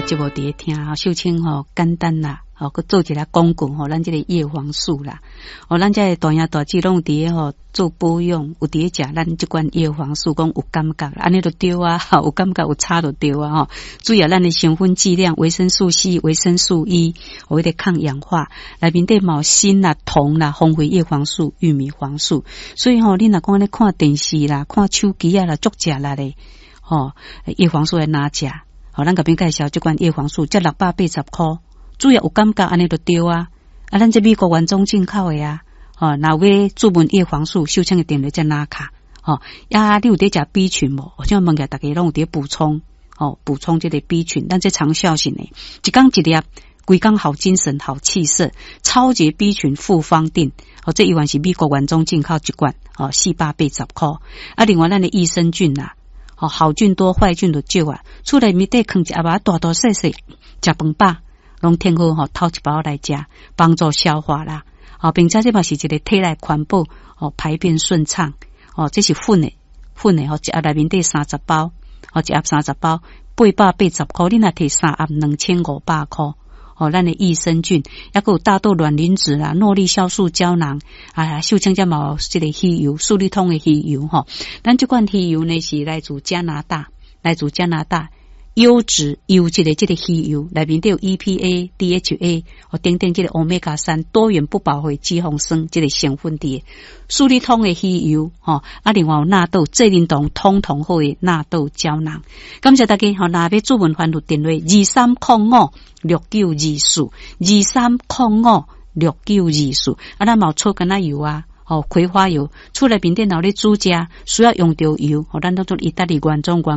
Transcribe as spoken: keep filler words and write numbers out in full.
節目佇咧聽，吼，秀清吼簡單啦，吼，閣做一下廣告吼，咱這個葉黃素啦，哦，咱這個大兄大姊攏有佇咧吼做保養，有佇咧食咱這款葉黃素，講有感覺，按呢就對啊，有感覺有差就對啊，吼。主要咱的成分劑量，維生素 C、維生素 E，有彼個抗氧化，內面底嘛有鋅啦、銅啦、豐富葉黃素、玉米黃素，所以吼，你若講咧看電視啦、看手機啊啦，足食力咧，吼，葉黃素愛哪食？吼，咱共恁介紹這款葉黃素，才六百八十箍，主要有感覺按呢就對啊。啊，咱這美國原裝進口的啊，吼，若有欲注文葉黃素，秀清的電話才拿卡，吼，啊，你有佇食 B 群無？我想問下大家攏有佇補充，吼，補充這個 B 群，咱這長效性的，一工一粒，規工好精神、好氣色，超級 B 群複方錠，哦，這依然是美國原裝進口一罐，哦，四百八十箍。啊，另外咱的益生菌啦，哦，好菌多，壞菌就少啊。厝內面底囥一盒仔大大細細，食飯飽，攏添好吼，偷一包來食，幫助消化啦。哦，並且這嘛是一個體內環保，哦，排便順暢。哦，這是粉的，粉的吼，一盒內面底三十包，哦，一盒三十包，八百八十箍，你若提三盒兩千五百箍。哦，咱的益生菌，抑閣有大豆卵磷脂啦、諾麗酵素膠囊，啊，秀清這嘛有這個魚油，素力通的魚油吼。咱這款魚油呢是來自加拿大，來自加拿大優質優質的這個魚油，內面都有 E P A、D H A 哦等等這個歐米伽三多元不飽和脂肪酸這個成分佇。素力通的魚油吼，啊，另外有納豆，濟啉糖通通好的納豆膠囊。感謝大家吼，若欲注文還有電話二三空五六九二四二三空五六九二四。啊，咱嘛有草柑仔油啊，吼，葵花油，厝內面電腦咧煮食需要用著油，吼，咱攏做意大利原裝原